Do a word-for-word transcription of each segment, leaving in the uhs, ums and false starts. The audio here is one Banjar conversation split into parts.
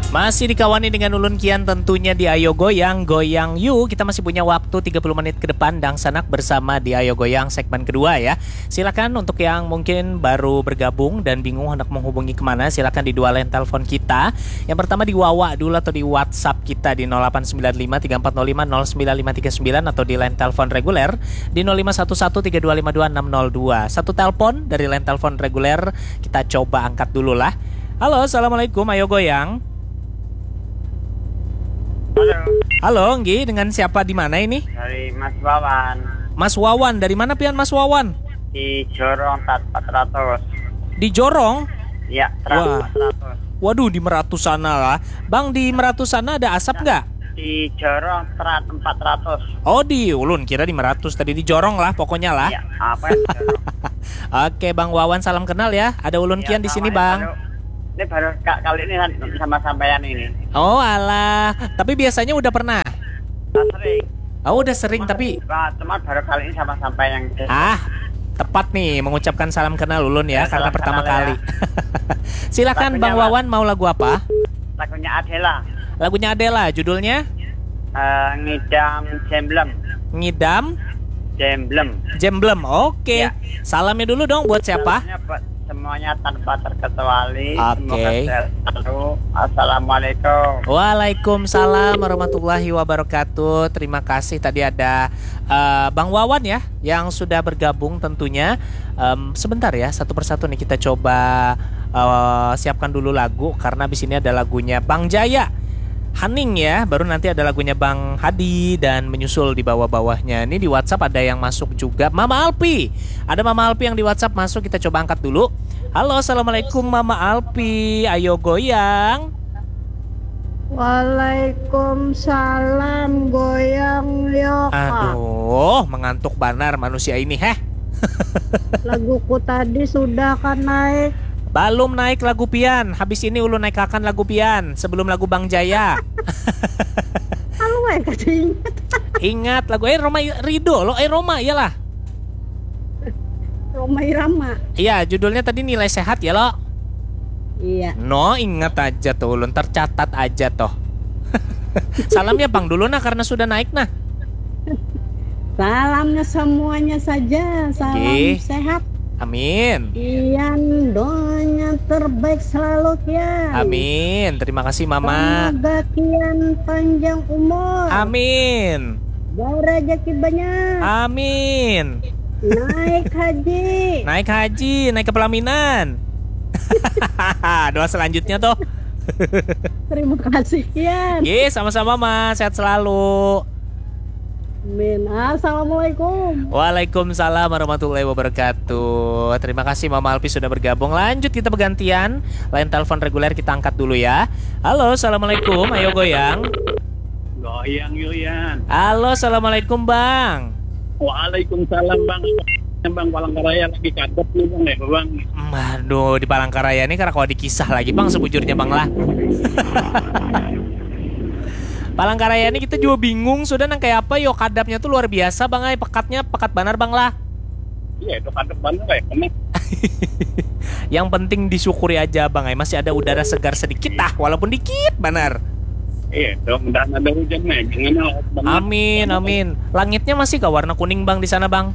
Masih dikawani dengan ulun Kian tentunya di Ayo Goyang, Goyang You. Kita masih punya waktu tiga puluh menit ke depan dangsanak bersama di Ayo Goyang segmen kedua ya. Silakan untuk yang mungkin baru bergabung dan bingung hendak menghubungi kemana, silakan di dua line telepon kita. Yang pertama di Wawa dulu atau di WhatsApp kita di nol delapan sembilan lima tiga empat nol lima nol sembilan lima tiga sembilan atau di line telepon reguler di nol lima satu satu tiga dua lima dua enam nol dua. Satu telepon dari line telepon reguler, kita coba angkat dulu lah. Halo, assalamualaikum, Ayo Goyang. Halo, Halo, Nggi, dengan siapa di mana ini? Dari Mas Wawan. Mas Wawan, dari mana pian Mas Wawan? Di Jorong Tat empat ratus. Di Jorong? Ya, Tat Wah. empat ratus. Waduh, di Meratus sana lah. Bang, di Meratus sana ada asap nggak? Di Jorong Tat empat ratus. Oh, di ulun kira di Meratus tadi, di Jorong lah pokoknya lah. Ya, apa ya? Jorong? Oke, Bang Wawan, salam kenal ya. Ada ulun Ya, Kian di sini, assalamualaikum. Bang. Ini baru ka- kali ini kan sama sampean ini. Oh, alah. Tapi biasanya udah pernah. Nah, sering. Oh, udah sering tapi Nah, cuma baru kali ini sama sampean yang ah, tepat nih mengucapkan salam kenal ulun ya, Ya, karena salam pertama kenal ya. Kali. Silakan Lagunya Bang apa? Wawan, mau lagu apa? Lagunya Adela. Lagunya Adela, judulnya Eh, ngidam jemblem. Ngidam Jemblem. Jemblem. Oke. Ya. Salamnya dulu dong buat siapa? Salamnya buat semuanya tanpa terkecuali. Oke. Semoga sehat selalu. Assalamualaikum. Waalaikumsalam warahmatullahi wabarakatuh. Terima kasih tadi ada eh, Bang Wawan ya yang sudah bergabung tentunya. Em, sebentar ya, satu persatu nih kita coba eh, siapkan dulu lagu karena di sini ada lagunya Bang Jaya. Haning ya, baru nanti ada lagunya Bang Hadi dan menyusul di bawah-bawahnya. Ini di WhatsApp ada yang masuk juga. Mama Alpi. Ada Mama Alpi yang di WhatsApp masuk, kita coba angkat dulu. Halo, assalamualaikum Mama Alpi. Ayo goyang. Waalaikumsalam, goyang yo kak. Aduh, mengantuk banar manusia ini, heh. Laguku tadi sudah kan naik. Balum naik lagu pian, habis ini ulun naikakan lagu pian sebelum lagu Bang Jaya. Kalau eh kasih ingat. Ingat lagu eh Roma Ridho lo, eh Roma iyalah. Roma Irama. Iya, judulnya tadi Nilai Sehat ya lo. Iya. No, ingat aja tuh ulun, tercatat aja toh. Salamnya Bang dulu nah karena sudah naik nah. Salamnya semuanya saja. Salam Oke. Sehat. Amin. Kian, doanya terbaik selalu Kian. Amin. Terima kasih Mama. Semoga Kian panjang umur. Amin. Barajaki banyak. Amin. Naik haji. Naik haji, naik ke pelaminan. Doa selanjutnya tuh. Terima kasih Kian. Ye, sama-sama Mas. Sehat selalu. Amin. Assalamualaikum. Waalaikumsalam warahmatullahi wabarakatuh. Terima kasih Mama Alpi sudah bergabung. Lanjut kita bergantian. Line telepon reguler kita angkat dulu ya. Halo, assalamualaikum. Ayo goyang. Goyang Yuyan. Halo, assalamualaikum Bang. Waalaikumsalam Bang. Bang Palangkaraya lagi kadep nih Bang ya Bang. Aduh, di Palangkaraya ini karena kalau dikisah lagi Bang sebujurnya Bang lah. Palangkaraya ini kita juga bingung sudah nang kayak apa yo, kadapnya tuh luar biasa Bang ay, pekatnya pekat banar Bang lah. Iya itu kadep banget ya kena. Yang penting disyukuri aja Bang ay, masih ada udara segar sedikit lah, walaupun dikit banar. Iya itu mudahan ada hujan nih. Jangan lah. Amin, amin. Langitnya masih kah warna kuning Bang di sana Bang?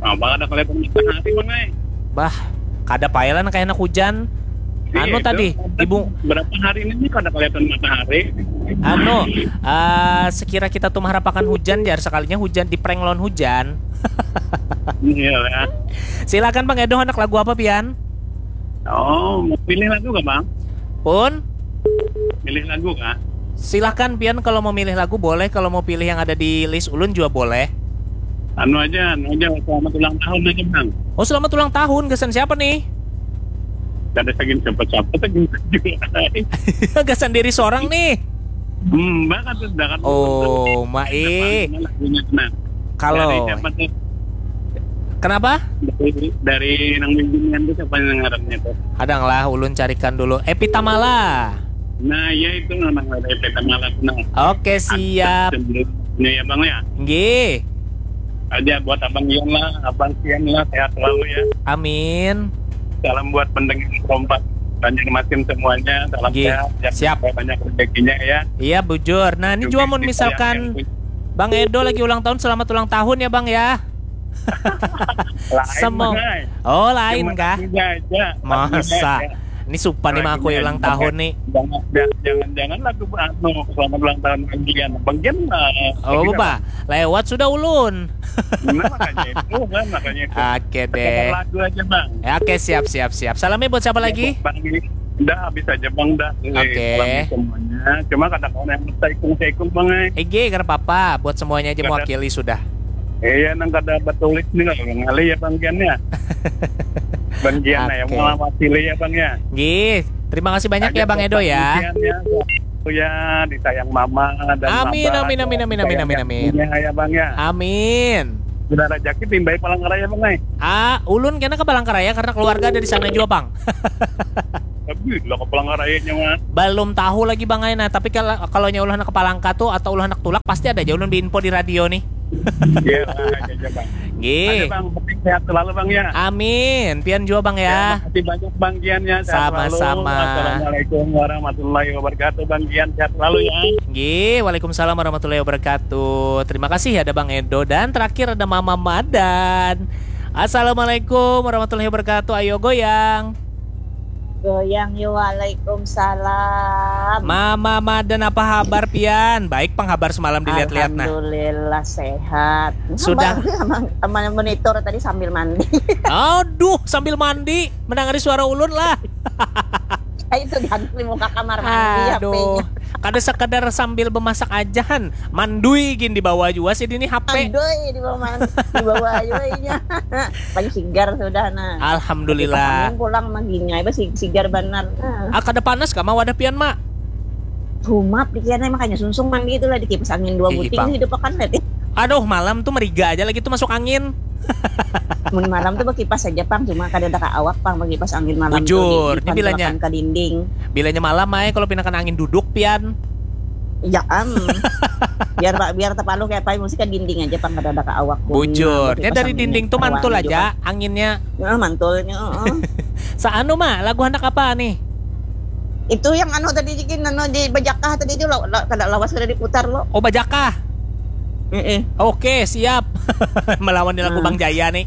Nah, Bang ada kelihatan matahari Bang ay. Bah, kada payah lah kayak anak hujan. Anu Iya, tadi, itu. ibu Berapa hari ini nih kada kelihatan matahari? anu ah, sekira kita tuh mengharapkan hujan jar, sekalinya hujan di prank lawan hujan. Iya lah. Silakan Bang Edo, anak lagu apa pian? Oh, mau pilih lagu gak Bang? Pun Pilih lagu kah? silahkan pian, kalau mau milih lagu boleh, kalau mau pilih yang ada di list ulun juga boleh. Anu aja, anu aja. Selamat ulang tahun aja Bang. Oh, selamat ulang tahun, gasan siapa nih? Kada sagin siapa-siapa, sagin juga. Gasan diri seorang nih. Hmm, Bang kan sudah kan. Oh, Mae. Mana lagunya, nah. Kalau Dari siapa tuh? Kenapa? Dari, dari nang bimbingan tuh siapa yang ngarannya tuh? Kadang lah, ulun carikan dulu. Epi Tamala. Nah, ya itu memang ada Epi Tamala tuh. Nah. Oke, siap. Sebelumnya ya Bang ya. Nggih. Aja buat Abang Ian lah, Abang Sian lah, sehat selalu ya. Amin. Salam buat pendengar Kompas. Banjarmasin semuanya, salam Nggih, sehat, jangan siap. sampai banyak rezekinya ya. Iya bujur. Nah ini Juga juga mun di misalkan sayang yang punya. Bang Edo lagi ulang tahun, selamat ulang tahun ya Bang ya. Lain Semua. Bang, ai. Oh lain Cuma kah? lagunya aja. Masa? Lagunya aja. Ini supan nih Lagunya aku ulang aja. Tahun nih. Jangan, jangan, jangan lagu anu, selamat ulang tahun Bang Gian. Bang Gian, eh, Oh lagi bah, lewat sudah ulun. Nah, makanya itu kan, makanya itu. Oke Sekedar deh. Lagu aja Bang. Ya, oke siap siap siap. Salamnya buat siapa lagi? Bang, dah habis aja Bang dah. Eh, Oke. Salam semuanya. Cuma kadang orang yang saikung-saikung Bang eh. Ege, kada apa-apa. Buat semuanya aja Kada- mewakili sudah. Iya, nang kada batulis nih lah, ngalih ya Bang Gian ya. Bang Gian ya, Oke. mewakili ya Bang ya. Gih, terima kasih banyak ya Bang Edo ya. Gian ya. Ya, disayang mama dan Amin, abah amin, dan amin, amin, amin, sayang amin, amin. Ya, ya Bang ya. Amin. Bila rezeki timbali Palangkaraya Bang eh. Ah, ulun kena ke Palangkaraya karena keluarga ada di sana juga Bang. Tapi lo ke Palangkarayanya mah. Belum tahu lagi Bang Aina, tapi kalau kalau nya ulah nak ke Palangka tuh atau ulah nak tulak pasti ada aja ulun diinfo di radio nih. Iya, lah, aja aja Bang. Ada Gih. Bang, penting sehat selalu Bang ya. Amin. Pian juga Bang ya. Makasih banyak Bang Gian ya. Sehat Sama-sama. Selalu. Assalamualaikum warahmatullahi wabarakatuh Bang Gian. Sehat selalu ya. Gih, waalaikumsalam warahmatullahi wabarakatuh. Terima kasih ada Bang Edo dan terakhir ada Mama Madan. Assalamualaikum warahmatullahi wabarakatuh. Ayo goyang. Goyang yo, waalaikumsalam. Mama Madan, apa habar pian? Baik pang habar semalam dilihat-lihat nah. Alhamdulillah sehat. Sudah. Sama, sama, sama monitor tadi sambil mandi. Aduh, sambil mandi, mendengari suara ulun lah. Itu di muka kamar mandi Aduh, H P-nya. Kada sekedar sambil memasak aja han, mandui gin dibawa juga sih ini H P. Mandui di bawah man-, di bawah aja inya. Paling sigar sudah nah. Alhamdulillah. Angin pulang maginya, apa si-, sigar benar. Nah. Ah, kada panas kah ma wadah pian ma? Humap dikira makanya sungsung mandi itulah di kipas angin dua Ih, buting Bang. Hidup akan nanti. Aduh, malam tuh meriga aja lagi tuh masuk angin. Mun malam tuh berkipas aja pang, cuma kada ada ka awak pang berkipas angin malam Bujur, tuh. ini bilanya. Ke dinding. Bilanya malam ay kalau pinakan angin duduk pian. Ya am. Biar pak biar terpalu kayak apa mesti ke dinding aja pang kada ada ka awak. Bujur. Ya dari dinding tuh mantul aja Juga. Anginnya. Ya, mantulnya. Uh-uh. Saanu ma lagu anak apa nih? Itu yang anu tadi jikin anu di Bajakah tadi itu lo, lo, kada lawas kada diputar lo. Oh Bajakah. Heeh. Oke siap. Melawan di lagu Hmm. Bang Jaya nih.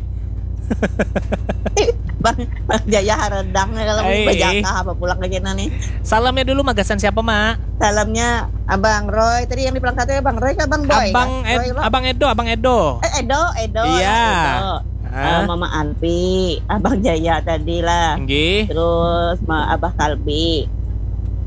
Bang, Bang Jaya haredang ya kalau Hei. Bajakah apa pulang lagi nih. Salamnya dulu magasan siapa ma? Salamnya Abang Roy tadi yang di Palangkaraya Abang Roy kah Abang Boy? Abang Kah? Ed, Roy lo. Abang Edo, Abang Edo. Eh Edo, Edo. Iya. Lah, Edo. Hah? Eh, Mama Alpi, Abang Jaya tadi lah. Nggih. Terus ma- Abah Kalbi,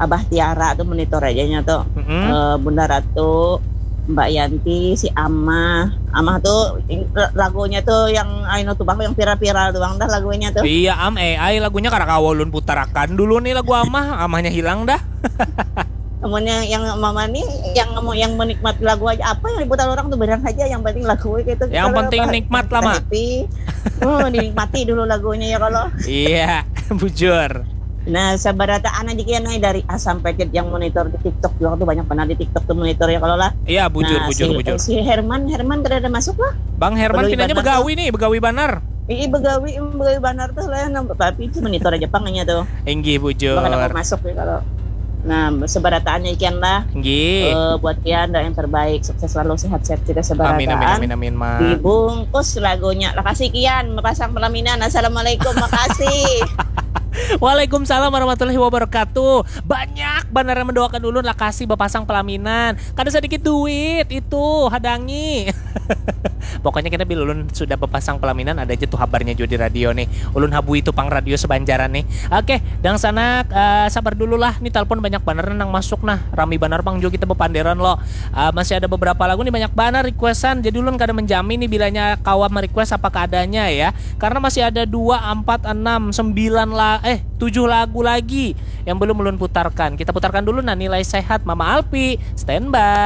Abah Tiara tuh monitor aja nya tuh. Mm-mm. Eh, Bunda Ratu, Mbak Yanti, si Amah. Amah tuh ing- lagunya tuh yang anu tuh bang yang viral-viral tuh bang dah lagunya tuh. Iya am, eh, ai lagunya kada kawa ulun putarakan dulu nih lagu amah, amahnya hilang dah. Namun yang, yang mama nih yang mau yang menikmati lagu aja apa yang diputar orang tuh barang saja yang penting lagu gitu. Yang Kalau penting apa, nikmat lah, Mak. Happy. Oh, dinikmati dulu lagunya ya kalau. Iya, bujur. Nah, sabarataan aja kian nih dari A sampai Z yang monitor di TikTok juga tuh banyak benar di TikTok tuh monitor ya kalau lah. Iya, bujur, Nah, bujur, si, bujur. Si Herman, Herman kada ada masuk lah. Bang Herman Begawi pinanya banar begawi nih, begawi banar. Ih, begawi, begawi banar tuh lah, nah, tapi itu monitor aja pangnya tuh. Inggih, bujur. Bakal masuk nih kalau. Nah, sebarataannya ikian lah. Inggih. Eh, buat kian doa yang terbaik, sukses selalu, sehat-sehat kita sebarataan. Amin, amin, amin, amin, Ma. Dibungkus lagunya. Makasih kian, mepasang pelaminan. Assalamualaikum, makasih. Waalaikumsalam warahmatullahi wabarakatuh. Banyak banar yang mendoakan ulun lakasi bepasang pelaminan. Kada sedikit duit itu hadangi. Pokoknya kita bila ulun sudah bepasang pelaminan ada aja tuh habarnya juga di radio nih. Ulun habui itu pang radio sebanjaran nih. Oke, dangsanak, eh, sabar dulu lah. Nih telepon banyak banar nang masuk nah. Rami banar pang juga kita bepanderan lo. Eh, masih ada beberapa lagu nih banyak banar requestan. Jadi ulun kada menjamin nih bilanya kawa merequest apa keadaannya ya. Karena masih ada dua, empat, enam, sembilan la eh tujuh lagu lagi yang belum ulun putarkan. Kita putarkan dulu nah Nilai Sehat Mama Alpi. Standby.